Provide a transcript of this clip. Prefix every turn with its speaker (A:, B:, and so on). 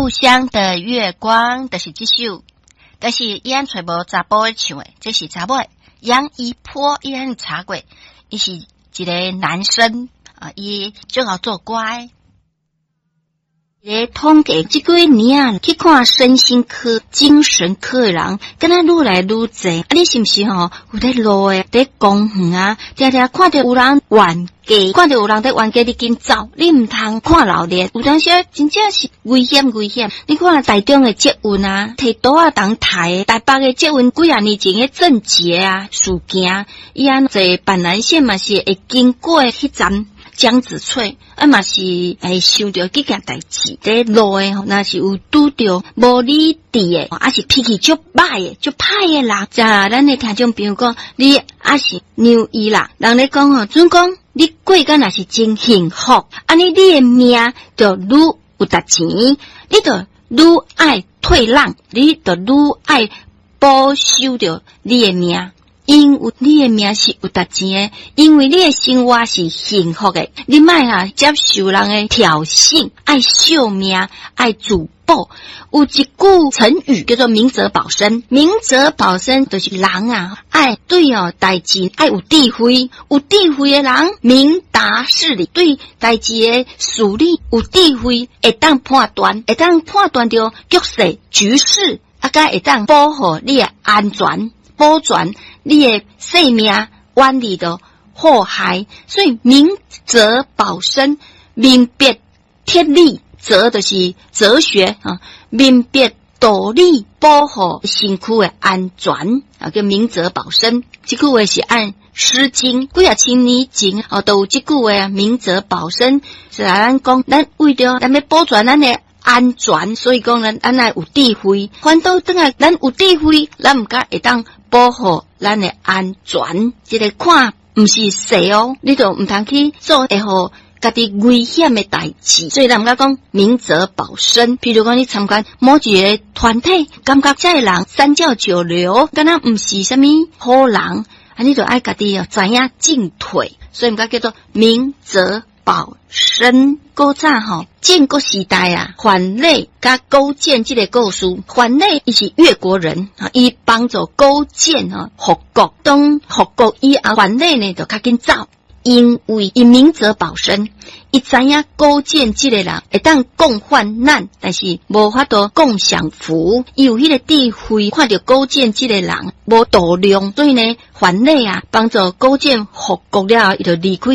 A: 故鄉的月光就是這首，但是伊按揣無查埔咧唱的，這是查某的楊一波，伊按查過，伊是一個男生啊，伊最好做歌。咧統計這幾年啊，去看身心科、精神科的人，敢若愈來愈濟。啊，你是毋是吼有佇路的，佇公園啊，定定看著有人冤家，看著有人佇冤家，你緊走，你毋通看鬧熱。有當時真正是危險危險。你看台中的捷運啊，提桌仔當抬，台北的捷運幾仔年前的鄭捷啊事件，伊按坐板南線嘛是會經過彼站。江子翠啊嘛是會想著這件代誌，佇路的吼，若是有拄著無理智的，抑是脾氣足歹的、足歹的人，遮咱的聽眾朋友講，你抑是讓伊啦。人咧講吼，準講你過甲若是真幸福，按呢你的命就愈有值錢，你就愈愛退讓，你就愈愛保守著你的命。因為你的命是有值錢的，因為你的生活是幸福的，你莫啊接受人的挑釁，愛惜命，愛自保。有一句成語叫做“明哲保身”，明哲保身就是人啊，愛對哦代誌愛有智慧，有智慧的人明達事理，對代誌的事理有智慧，會當判斷，會當判斷著局勢局勢，啊，閣會當保護你的安全，保全你的性命，遠離著禍害。所以明哲保身，明辨天理，哲就是哲學啊，明辨道理，保護身軀的安全啊，叫明哲保身。這句話是按《詩經》幾仔千年前哦，都有這句話，明哲保身是來咱講，咱為著咱欲保全咱的安全，所以講咱咱愛有智慧。反倒轉來，咱有智慧，咱毋敢會當保護咱的安全。這個看毋是勢哦，你就毋通去做會予家己危險的代誌。所以咱毋敢講明哲保身。譬如講，你參加某一個團體，感覺這个人三教九流，敢若毋是啥物好人，啊，你就愛家己哦知影進退。所以毋敢叫做明哲保身。古早吼，戰國時代啊，樊羖佮勾踐這個故事。樊羖伊是越國人，伊幫助勾踐吼復國。當復國以後，樊羖呢就較緊走，因為伊明哲保身，伊知影勾踐這個人會當共患難，但是無法度共享福。伊有彼個智慧，看著勾踐這個人無度量，所以呢，樊羖啊幫助勾踐復國了後，伊就離開。